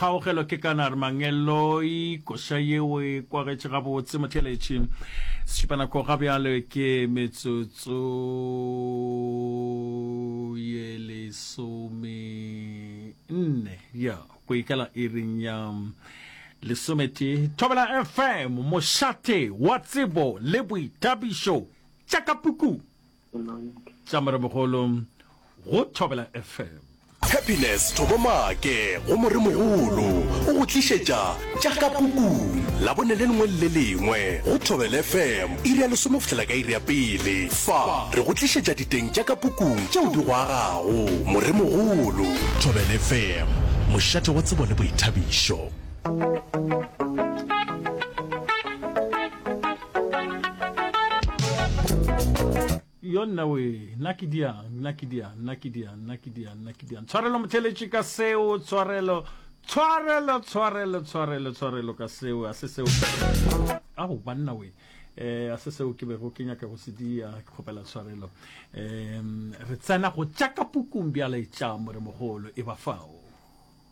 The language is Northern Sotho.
Kgaogelo ke kana re mangeloi, koša yeo e kwagetše gabotse motheeletši. Sešupanako ga bjale ke metsotso ye lesome nne ya go ikela iring ya lesometee. Thobela FM, mošate wa tsebo le boithabišo tša ka pukung. Tša Moremogolo go Thobela FM. Happiness Thobo Maake go Moremogolo o go tlišetša tša ka pukung Labone le lengwe le le lengwe go Thobela FM iri ya lesome go fihlela ka iri ya pele. Fa re go tlišetša diteng tša ka pukung tšeo di go agago. Moremogolo. Thobela FM, mošate wa tsebo le boithabišo. Yo nna we, nna ke diang, nna ke diang, nna ke diang, nna ke diang, nna ke diang. Tshwarelo motheletši ka seo, tshwarelo, tshwarelo, tshwarelo, tshwarelo, tshwarelo ka seo, a se seo. Ao, banna we, eh, a se seo ke bego ke nyaka go se dia, ke kgopela tshwarelo. Um, re tsena go tša ka pukung bjale tša moremogolo, e ba fao.